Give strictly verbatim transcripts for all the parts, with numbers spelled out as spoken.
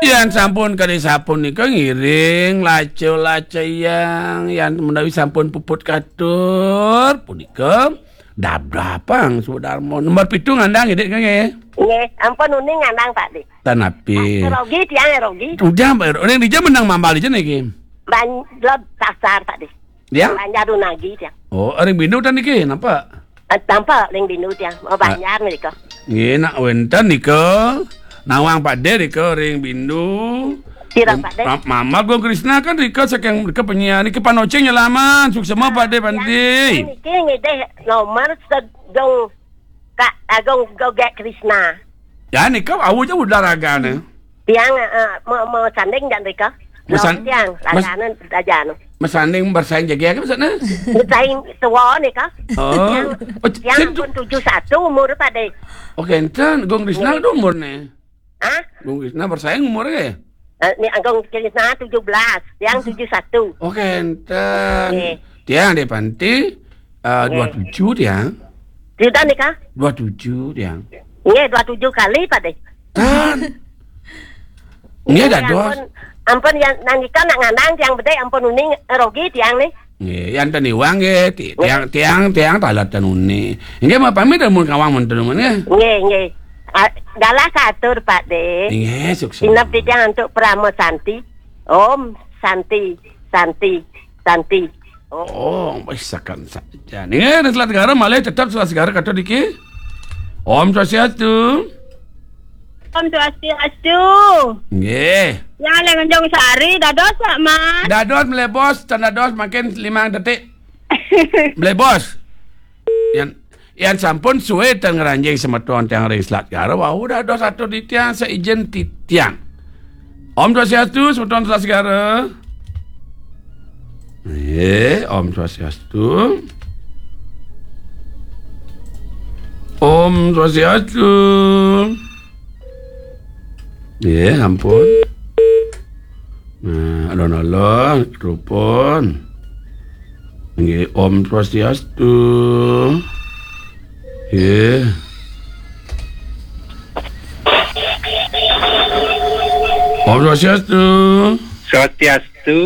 Yan sampun kadi sapunika ngiring laca-laca yang, yan menawi sampun puput katur punika dabdabang Sudarma. Nomor pitu ngandang, Dik, nggih. Nggih, ampun uning ngandang, Pak Dik. Tan napi? Rogi tiang, rogi. Udah, Mbak, ring dija menang mambal dija niki? Ban-, lod pasar, Pak Dik. Ya? Banjar Dunagi tiang. Oh, ring Bindu tan niki, napa? Eh, tampa ring Bindu tiang. Oh, Banjar nika. Nggih, nak wenten nika. Nawang Pak Dik nika ring Bindu. Sira, Pak Dik? Ma-, Mama Gung Krisna kan rika saking rika penyiar niki panocing nyelaman. Suksema Pak Dik Panti. Niki ngidih nomor sedung Kak Agung Gogek Krisna. Ya, nika awu ja udah ragane. Tiang, eh, mau, mau sanding jan rika. Mesan-, Lawan tiang, mes-, ragane dajanu. Mesanding bersaing jagi apa maksudnya? Bersaing tua nika. Oh. Tiang, oh, tiang pun tujuh satu umur, Pak Dik. Oke, enten Gung Krisna. Nggih. Ada umurnya. Hah? Gung Krisna bersaing umurnya. Eh, ni Agung Krisna tujuh belas, tiang tujuh satu. Oke, enten. Nggih. Tiang di Panti, eh, nggih. Dua tujuh tiang. Sudah nika? Dua tujuh tiang. Nggih, dua tujuh kali, Pak Dik. Tan. Nggih, nggih, dados. Ampun, ampun ya, nangika nak ngandang tiang bedek, ampun uning, eh, rogi tiang nih. Nggih, yan ten iwang nggih, ti-, nggih. Tiang, tiang, tiang talat ten uning. Nggih, mau pamit mun kawang mun ten uning nggih. Nggih, nggih. Ah, galah katur, Pak Dik. Nggih, sukses. Inap titiang antuk Parama Santi. Om Santi, Santi, Santi. Oh. Oh, wis sakan saja. Nggih, ring Selat Segara malih tetep Selat Segara katur niki. Om Swastiastu. Om Swastiastu. Nggih. Yang Lengenjong Sari, dados, Pak Mas. Dados, Mlebos, tan dados, makin limang detik. Mlebos. Yan, yan sampun suwe ten ngranjing semeton tiang ring Selat Segara, wau dados atur titiang, saijen titiang. Om Swastiastu, semeton Selat Segara. Eh, Om Swastiastu. Om Swastiastu. Nggih, ampun. Nah, alon-alon, telepon. Nggih, Om Swastiastu. Nggih. Om Swastiastu. Swastiastu.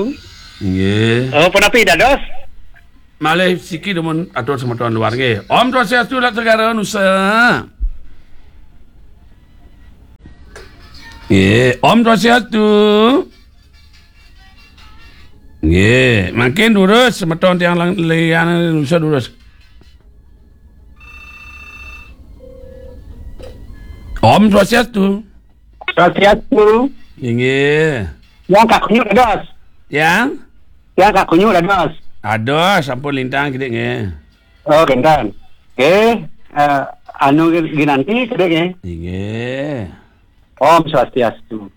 Nggih. Oh, punapi dados? Malih siki dumun atur semeton luar nggih. Om Swastiastu, Selat Segara Nusa. Nggih, Om Swastiastu. Nggih, makin durus semeton tiang lang-, liyan Nusa durus. Om Swastiastu. Swastiastu. Inggih. Yang Kak Kunyu dados. Yang? Yang Kak Kunyu dados. Aduh, sampun lintang kidik nggih. Oh, kinten. Nggih, eh, anu ginanti kidik nggih. Inggih. Om Swastiastu.